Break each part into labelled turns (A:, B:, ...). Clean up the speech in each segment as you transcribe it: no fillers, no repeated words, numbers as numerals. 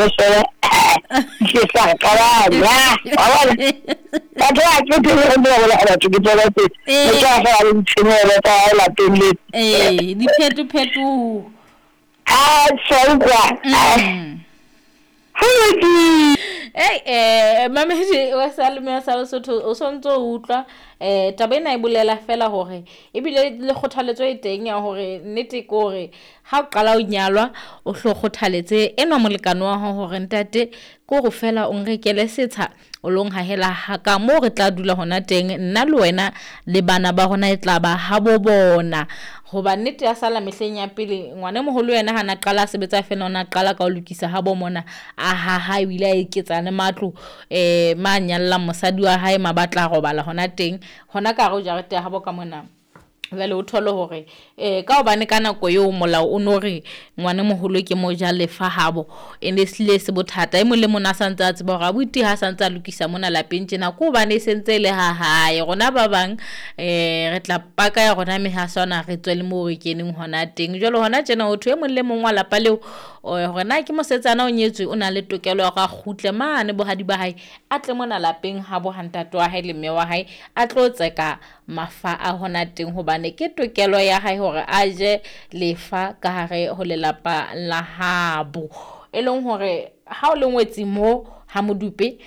A: fela ke sa qabanya wa bona batho ba ke ke re ba bola batho ke tswela pele
B: Ee.
A: ke tla fa le ditshenyehelo tsa hao lapeng le
B: Ee, diphetophetoho.
A: A tjha utlwa. Ho lokile.
B: Ei, mamedi wa Salome sa Lesotho, o sontso o utlwa taba ena e bolela fela hore ebile le kgothaletso e teng ya hore nnete ke hore ha o qala o nyalwa o hlo kgothaletse enwa molekane wa hao hore ntate ke hore fela o nrekele setsha o lo nhahela ha ka moo re tla dula hona teng, nna le wena le bana ba rona e tla ba ha bo bona. Hoba nnete ya sala mehleng ya pele, ngwana e moholo yena ha na qala a sebetsa fela, o na qala ka ho lokisa ha bo mona, a haha ebile a eketsa le matlo ma nyallang mosadi wa hae, ma batla robala hona teng hona ka hare ho jarete ya habo ka mona. Jwale o thole hore ka hobane ka nako eo molao o no re ngwana moholo ke mojalefa habo, e ne hlile se bothata. E mong le mong a santse a tseba hore abuti ha santse a lokisa mona lapeng tjena ke hobane e sentse e le ha hae. Rona ba bang re tla paka ya rona mehaswana re tswe le moo re keneng hona teng. Jwale hona tjena ho thwe e mong le mong wa lapa leo hore na ke mosetsana o nyetswe, o na le tokelo ya hore a kgutle mane bohadi ba hae, a tle mona lapeng ha bo ha ntate wa hae le mme wa hae, a tlo tseka mafa a hona teng hobane ke tokelo ya hae hore a je lefa ka hare ho lelapa la habo. E leng hore ha o le ngwetsi mo ha Modupe,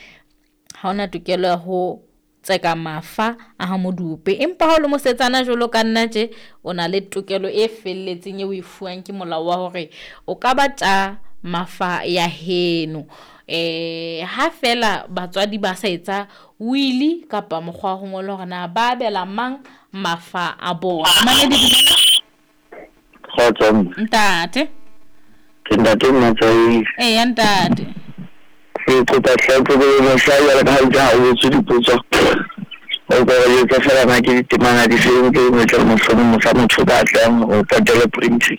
B: ha ona tokelo ya ho tseka mafa a ha Modupe, empa ha o le mosetsana jwalo ka nna tje, o na le tokelo e felletseng eo o e fuwang ke molao wa hore o ka ba tja mafa ya heno. Ha fela batswadi ba sa etsa wili kapa mokgwa wa ho ngola hore na ba abela mang mafa a bona. Mamedi, dumela.
C: Kgotso mme.
B: Ntate.
C: Ke ntate Mmatsai.
B: Eya ntate.
C: Ke kopa tlhoko ke mohla jwale ka ha itse ha o botswe dipotso. O ka re jwetsa fela na ke ditemana di feng tse dingwe tse mohlomong mohla motho o ka tlang o patele printing.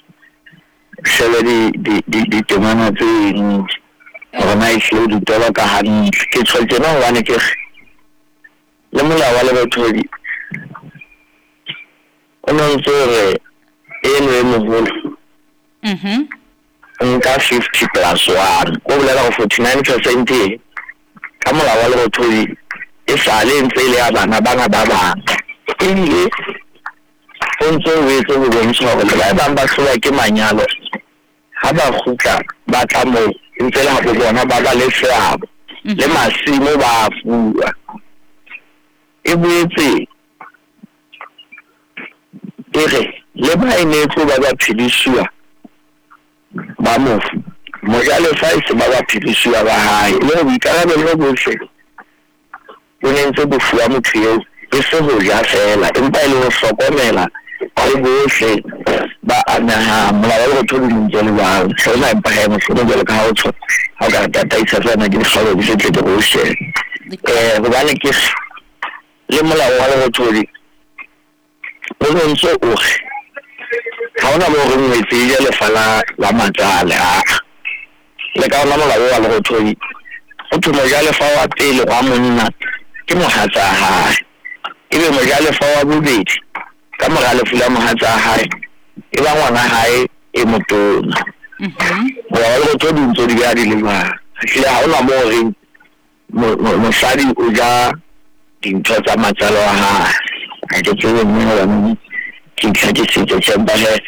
C: Shebe ditemana tse ding hore na ehlile o di toloka hantle. Ke tjho tjena hobane ke re le molao wa lerothodi o no ntso re eno e moholo nka 50 plus 1, o bolela hore 49% e ka molao wa lerothodi e sale e ntse e le ya bana bana ba bang. Ebile o ntso o etse ho bontsha hore le ba bang ba hlolwa ke manyalo ha ba kgutla ba tla moo e ntse le ha bo bona ba ba le seabo le masimo ba a fuwa. E boetse e re le ba e ne e tlo ba ba phedisuwa ba mofu, mojalefa e se ba ba phedisuwa ba hae, e le hore boikarabelo bohle bo ne ntse bo fuwa motho eo, e se ho ja fela empa e le ho hlokomela le bohle ba amehang. Molao wa lerothodi o ntse o le jwalo. Hlona empa hee mohlomong jwalo ka ha o tjho, ha o ka re tataisa fela ke dikgaolo di se tle ke re o shebe. Hobane ke le molao wa lerothodi o no ntso o re ha hona moo re ngwetse e je lefa la matsale, aa. Le ka ona molao wa lerothodi ho thwe mojalefa wa pele wa monna ke mohatsa hae, ebe mojalefa wa bobedi ka mora lefu la mohatsa hae e ba ngwana hae e motona. Molao wa lerothodi o ntso di beha di le jwalo. Ehlile ha hona moo reng mosadi o ja dintho tsa matsalo a hae. Ha ke tsebe mme hobane ke itlhakisitse tjhe, empa hee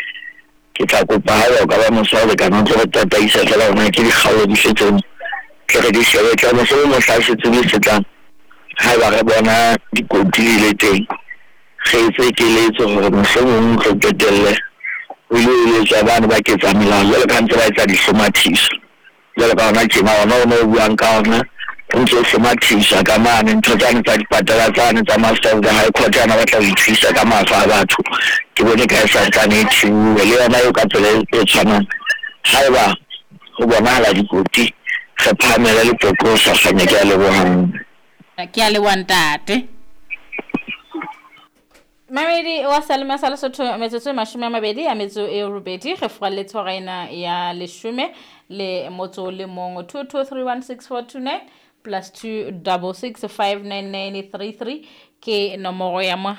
C: ke tla kopa haeba o ka ba mosa o lekana o tlo re tataisa fela hore na ke dikgaolo di fe tseo tle re di shebe. Tla mohlomong mohla setsebi se tlang, haeba re bona dikoti di le teng, re etse keletso hore mohlomong re qetelle ho ile eletswa bane ba ketsa melao jwalo ka ha ntse ba etsa dihlomathiso. Jwalo ka hona tjena ona o no o buang ka ona o ntso hlomathisa ka mane ntho tsane tsa dipatala tsane tsa Master of the High Court ana batla ho ithwisa ka mafa a batho. Ke bone ka e santsane e thiuwe le yona eo ka tsela e tshwanang. Haeba ho bonahala dikoti re phahamele leqoqo ho sa kganya. Ke a leboha mme.
B: Ke a leboha ntate. Mamedi wa Salome sa Lesotho, metsotso e 28 re furalletse hora ena ya leshome le motso le mong. 22316429 plus 26659933 ke nomoro ya mohala.